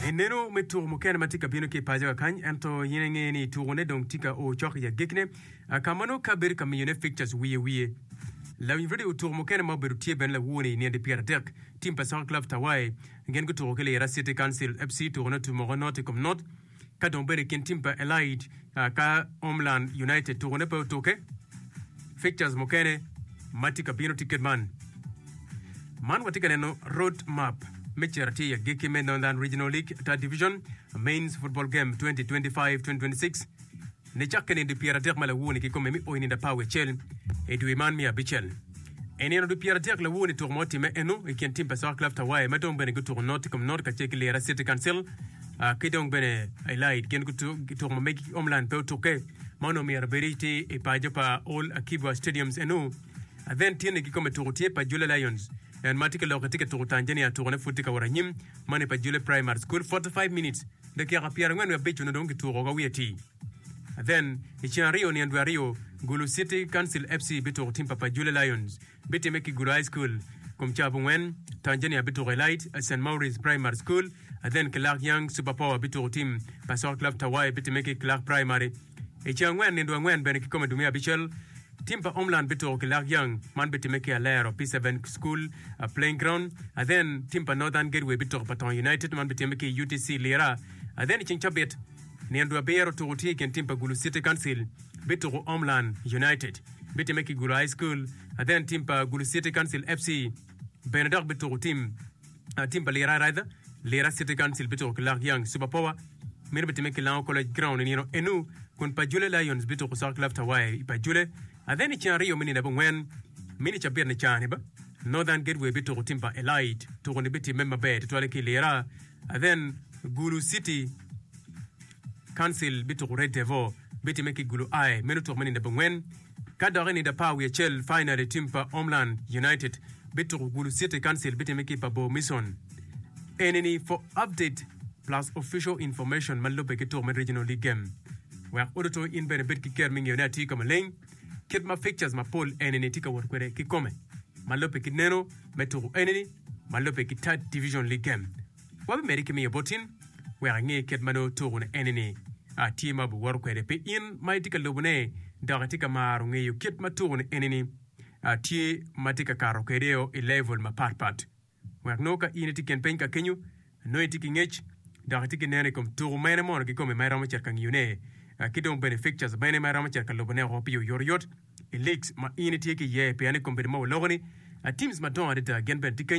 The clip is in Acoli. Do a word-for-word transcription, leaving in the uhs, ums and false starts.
Ineno me tuko mukene ma tye ka bino ki i paco kakany ento in inge ni tukone dong tye ka o cok i agikne ka ma nongo ka bedo ka miyone fixtures wiye wiye. Lawiny radio tuko mukene ma obedo tye bene lawoni i nino pyera adek team pa Soccer Club Tawai gin gutuko ki Lira City Council F C tukone otumo not i kom not ka dong bedo i kin team pa Elite ka Homeland United tukone pe otuke. Fixtures mukene ma tye ka bino tye kit man. Man watye ka neno road map me cito tye i agikki me Northern Regional League Third Division Mains Football Game twenty twenty-five twenty twenty-six nicakke nino pyera adek ma lawoni kikome mi oi nindo apar wiye acel i dwe man me abicel. I nino dwe pyera adek lawoni tuko ma otimme eno i kin team pa Soccer Club Tawai ma dong bene gutuko not i kom not kacel ki Lira City Council ki dong bene Elite gin tuko ma megi Homeland pe otukke ma onongo myero bedi tye i paco pa Old Akibwa Stadiums eno. Then tyene kikome tuko tye pa Jule Lions en ma tye ka lok tye ka tuko Tanzania tukone pud tye ka wot anyim mani pa Jule Primary School forty-five minutes dakika pyera angwen wiye abic onongo dong kituko ka wiye ti. Then i ceng aryo nino dwe aryo Gulu City Council F C bituko team pa pa Jule Lions bitime ki Gulu High School kom ca abongwen. Tanzania bituko Elite Saint Maurice Primary School. Then Kilak Young Super Power bituko team pa Soccer Club Tawai bitime ki Kilak Primary. I ceng angwen nino dwe angwen bene kikome dwe me abicel team pa Homeland bituko Kilak Young man bitime ki Alero P seven School uh, playing ground. Then team pa Northern Gateway bituko pa Tong United man bitime ki U T C Lira. Then i ceng cabit nino dwe abiro tuko tye i kin team pa Gulu City Council bituko Homeland United bitime ki Gulu High School. Then team pa Gulu City Council F C bene dok bituko team uh, team pa Lira, rather Lira City Council bituko Kilak Young Super Power meno bitime ki Lango College Ground i nino enu kun pa Jule Lions bituko Soccer Club Tawai i pa Jule. Then i ceng aryo me nino abongwen mini cabit ni cani ba Northern Gateway bituko team pa Elite tuko ni bitime maber tutwale ki Lira. Then Gulu City Council bituko Red Devil bitime ki Gulu I meno tuko me nino abongwen ka dok i nino apar wiye acel final team pa Homeland United bituko Gulu City Council bitime ki pa Bo Mission. Enini for update plus official information ma lubbe ki tuko me Regional League game wek oduto in bene bed ki ker me ngeyone atir ka maleng kit ma fixtures mapol enini tye ka wot kwede kikome ma lubbe ki neno me tuko enini ma lubbe ki Third Division League game wabimedi ki miyo botin wek inge kit ma nongo tuko ni enini tye ma obiwoto kwede pi in ma itye ka lubone dok itye ka maro ngeyo kit ma tuko ni enini tye ma tye ka kato kwede i level mapatpat wek nongo ka in itye kin piny ka kenyo nongo itye ki ngec dok itye ki neno i kom tuko mene mono kikome ma iromo cito ka ngiyone ki dong bene fixtures mene ma iromo cito ka lubone oko pi oyotoyot i leagues ma in itye ki iye pien i kom bedo ma waloko ni teams madongo adada gin bene tye kenyo.